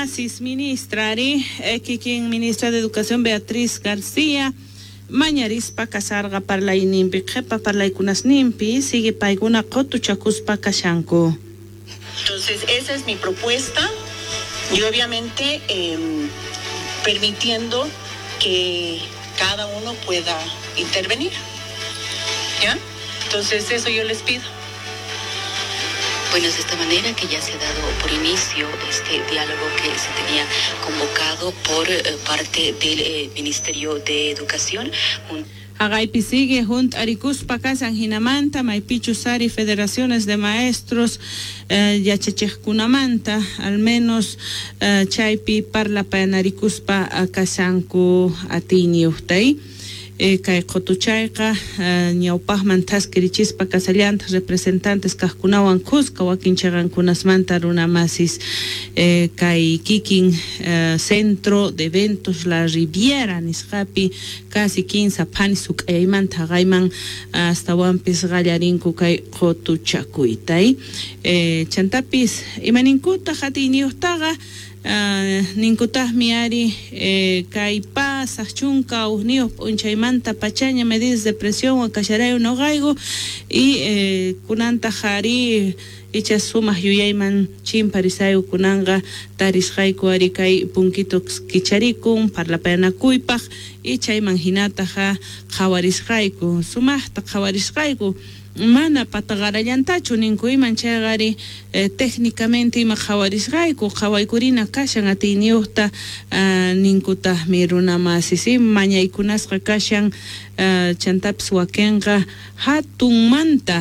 Masis ministra ari kikin ministra de Educación Beatriz García mañarispa kasarqa parlayninpi qhipa parlaykunasninpi sigue paykuna qutuchakuspa kashanku. Entonces, esa es mi propuesta y obviamente permitiendo que cada uno pueda intervenir. ¿Ya? Entonces, eso yo les pido. Bueno, es de esta manera que ya se ha dado por inicio este diálogo que se tenía convocado por parte del Ministerio de Educación. Haqaypi sigue hunt'arikuspa kashan hinamanta maypichus ari federaciones de maestros yachachiqkunamanta al menos chaypi parlapayanarikuspa kashanku atiyniyuqtay. Kay qutuchayqa ñawpaqman thaskirichispa kasallantaq representantes kaqkunawan kuska wakin chiqankunasmanta runamasis kay kikin Centro de Eventos La Riviera nisqapi casi 15 phanis huk'ayaymanta haqayman astawanpis qallarinku kay qutuchakuytay. Chantapis imaninkutaq atiyniyuqtaqa ninkutaqmi ari kay pasaq chunka hukniyuq p'unchaymanta pachaña medidas de presión kasharayu nuqayku y kunantaq ari icha sumaq yuyayman chimparisayku kunanqa tarisqayku ari kay punkito kicharikun parlapayanakuypaq y chayman hinataqa qhawarisqayku sumaqta qhawarisqayku mana pataqarallantachu ninku iman chayqa ari técnicamente ima qhawarisqayku qhawaykurina kashan atiyniyuqta ninkutaqmi runamasis mañaykunasqa kashan chantapis wakinqa hatunmanta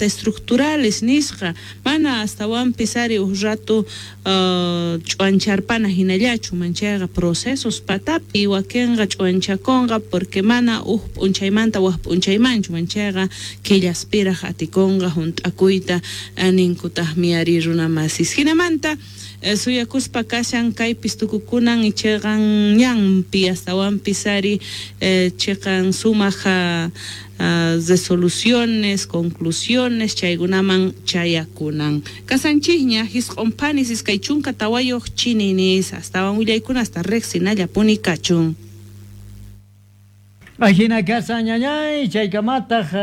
estructurales nisqa mana astawanpis ari huk rato ch'uancharpana hinallachu manchayqa procesos patapi wakinqa ch'uanchakunqa porque mana huk p'unchaymanta wak p'unchaymanchu manchayqa killaspiraq atikunqa hunt'akuyta ninkutaqmi ari runamasis hinamanta suyakuspa kashan kaypis tukukunan ichiqan ñanpi astawanpis ari chiqan sumaq resoluciones, conclusiones chaykunaman chayakunan. Kasanchikña hisq'un phanis iskay chunka tawayuq chininis astawan willaykuna hasta riqsinallapuni kachun. Ajina kasan ñañay chaykamataq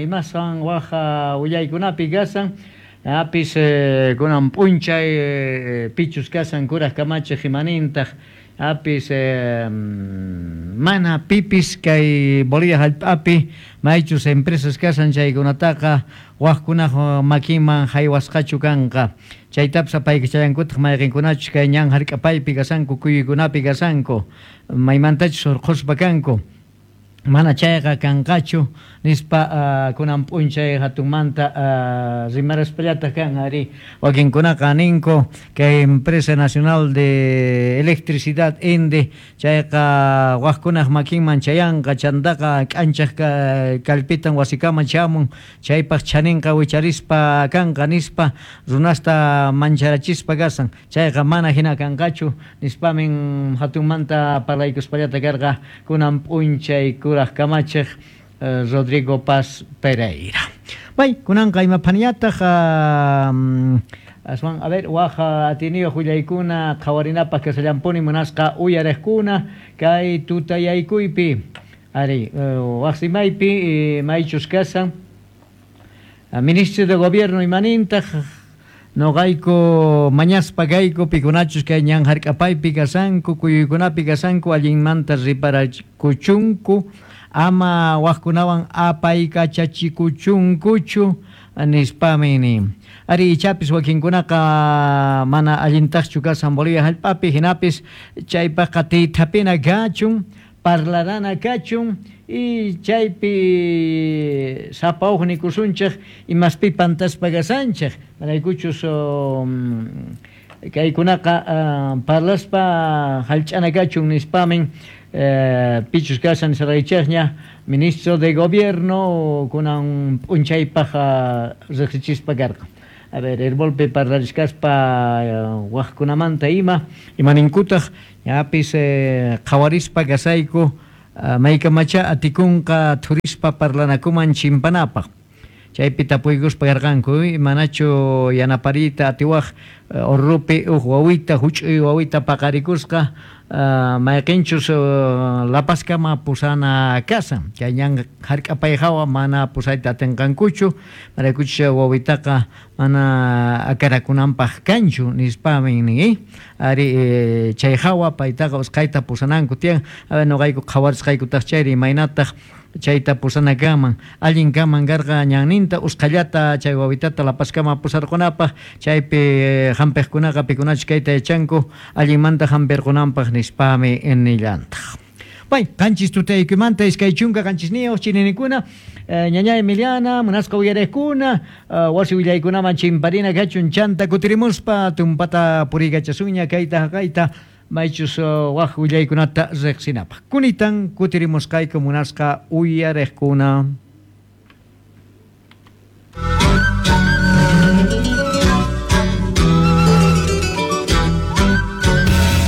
imaswan waj willaykunapi kasan apis kunan p'unchay pichus kasan kuraq kamachiq imanintaq apis mana pipis kay Bolivia hallp'api maychus empresas kasan chaykunataqa wajkunaq makinman haywasqachu kanqa chaytapis apaykachallankutaq mayqinkunachus kay ñan hark'apaypi kasanku kuyuykunapi kasanku maymantachus hurqhuspa kanku mana chayqa kanqachu nispa kunan p'unchay hatunmanta rimaraspallataq kan ari wakinkunaqa ninku kay Empresa Nacional de Electricidad ENDE chayqa wajkunaq makinman chayanqa chantaqa k'anchaq kallpitan wasikaman chamun chaypaq chaninqa wicharispa kanqa nispa runasta mancharachispa kasan chayqa mana hina kanqachu nispamin hatunmanta parlaykuspallata karqa kunan p'unchay kuraq kamachiq Rodrigo Paz Pereira. Bay, kunanqa imaphanillataq aswan a ver waj atiniyuq willaykuna qhawarinapaq kasallampuni munasqa uyariqkuna kay tutayaykuypi ari waqsimaypi maychus kasan Ministro de Gobierno imanintaq noqayku mañaspa kayku pikunachus kay ñan hark'apaypi kasanku kuyuykunapi kasanku allinmanta riparakuchunku ama wajkunawan apaykachachikuchunkuchu nispami nin. Ari ichapis wakinkunaqa mana allintaqchu kasan Bolivia hallp'api hinapis chaypaqqa tiythapina kachun parlarana kachun y chaypi sapa huk nikusunchik imaspi pantaspa kasanchik maraykuchus kaykunaqa parlaspa hallch'ana kachun nispamin pichus kasan nisaraychikña ministro de Gobierno kunan p'unchaypaq riqsichispa karqa. A ver, Herbolpi parlarishkaspa wajkunamanta ima imaninkutaq ñapis qhawarispa kasayku maykamacha atikunqa thurispa parlanakuman chimpanapaq. Chaypi tapuykuspa karqanku, manachu yanapariyta atiwaq Oruropi uj wawita, huch'uy wawita paqarikusqa, mayqinchus Lapaskama pusana kasan. Chay ñan hark'apay hawa mana pusayta atinqankuchu, maraykuchus wawitaqa mana akarakunanpaq kanchu nispami nin. Ari chay hawa paytaqa usqhayta pusananku tiyan. Nuqayku qhawarisqaykutaq chayri imaynataq chayta pusana kanman, allin kanman karqa ñanninta usqhallata chay wawitata Lapaskama pusarqunapaq, chaypi hampiqkunaqa pikunachus kayta yachanku allinmanta hampirqunanpaq nispami nillantaq. Pay, qanchis tutaykimanta 27 chininikuna, ñaña Emiliana, munasqa uyariqkuna, wasi willaykunaman chimparina kachun chanta kutirimuspa tumpata puriykachasunña kayta haqayta maychus waq willaykunata riqsinapaq. Kunitan kutirimusqayku munasqa uyariqkuna.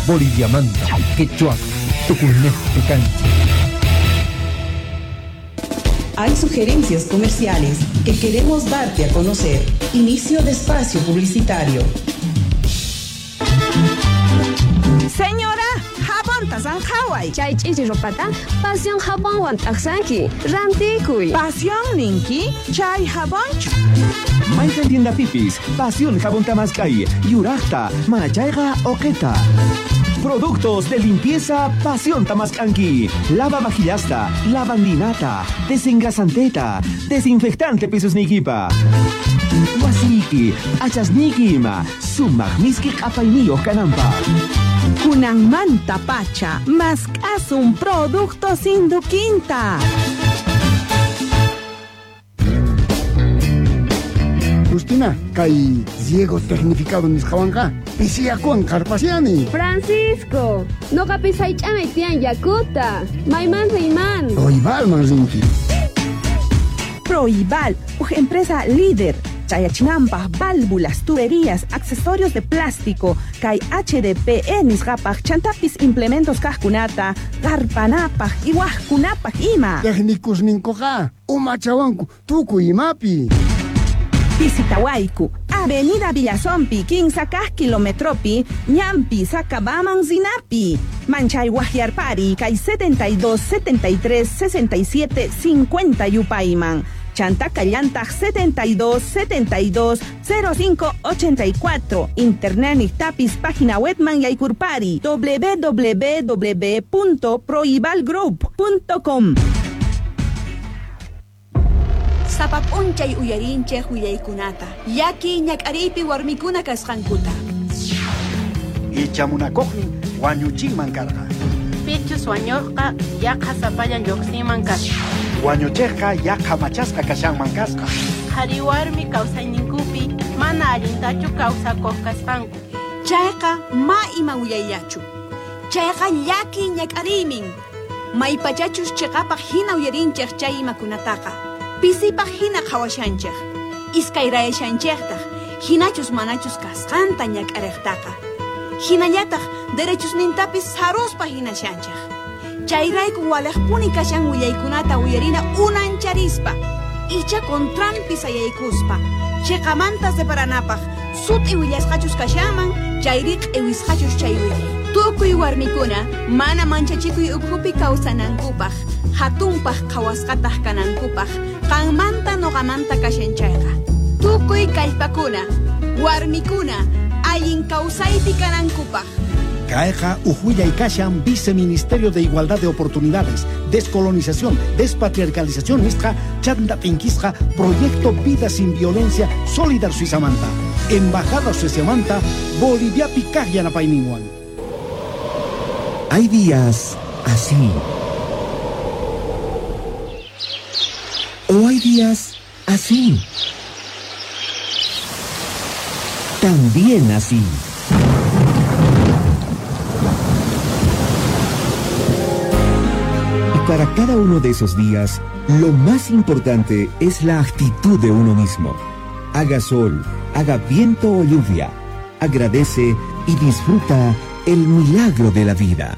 Boliviamanta, Quechua, Tucumán, Cancha. Hay sugerencias comerciales que queremos darte a conocer. Inicio de espacio publicitario. Señora, jabón tasanjaway. Chay ch'ichi ropata, pasión jabonwan t'aqsanki. Rantikuy. Pasión ninki, chay jabonchu. Mayqan tienda pipis, pasión jabón tamaskay, yuraqta, manachayqa oqeta. Productos de limpieza Pasión Tamascanqui. Lava vajillasta, lavandinata, desengrasanteta, desinfectante pisos nikipa. Wasiki, achasniki ima, sumaq miski q'apayniyuq kananpaq. Kunanmanta pacha, mask'asun productos Induquinta. Justina, kay riego tecnificado nisqawanqa pisiyakuwan qarpasiani. Francisco, noqapis haych'amay tiyan yakuta. Mayman riyman. Proibalman rinki. Proibal, uj empresa líder. Chayachinampaj, válvulas, tuberías, accesorios de plástico, kay HDPE nisqapaj, chantapis implementos kajkunata, qarpanapaj, iwajkunapaj ima. Técnicos ninkuqa, umachawanku, tukuy imapi. Visitawayku, Avenida Villazompi, 15 kilometropi, Ñampi, Sacabaman, Zinapi. Manchay Guajiarpari, kay 72 73 67 50 Yupayman. Chantaka llantaq 72 72 05 84. Internet tapis página webman yaykurpari www.proibalgroup.com. Sapap'unchay uyarinchej willaykunata, llaki ñak'ariypi warmikuna kasqankuta. Ichamunakuqnin wañuchinman karqa. Pichus wañuqqa yaqa sapallan lluqsinman kasqa. Wañuchiqqa yaqa machasqa kashanman kasqa. Qhari warmi kawsayninkupi mana allintachu kawsakuq kasqanku. Chayqa ma ima willayllachu. Chayqa llaki ñak'ariymin. Maypachachus chiqapaq hina uyarinchej chay imakunataqa. Pisipaq hina qhawashanchej, iskayrayashanchejtaq, hinachus manachus kasqanta ñak'ariqtaqa. Hinallataq derechusnintapis saruspa hinashanchej. Chayrayku waliqpuni kashan willaykunata uyarina unancharispa, icha contranpi sayaykuspa, chiqamanta separanapaq, sut'i willasqachus kashanman, chayri q'iwisqachus chay willay. Tukuy warmikuna mana manchachikuy ukhupi kawsanankupaq, hatunpaq qhawasqataq kanankupaq, qanmanta noqamanta kashan chayqa. Tukuy kallpakuna, warmikuna, allin kawsaypi kanankupaq. Kayqa uj kashan Viceministerio de Igualdad de Oportunidades, Descolonización, Despatriarcalización nisqa chanta t'inkisqa Proyecto Vida Sin Violencia Solidar Suizamanta, Embajada Sueziamanta, Boliviapi kaq yanapayninwan. Hay días así. O hay días así. También así. Y para cada uno de esos días, lo más importante es la actitud de uno mismo. Haga sol, haga viento o lluvia. Agradece y disfruta el milagro de la vida.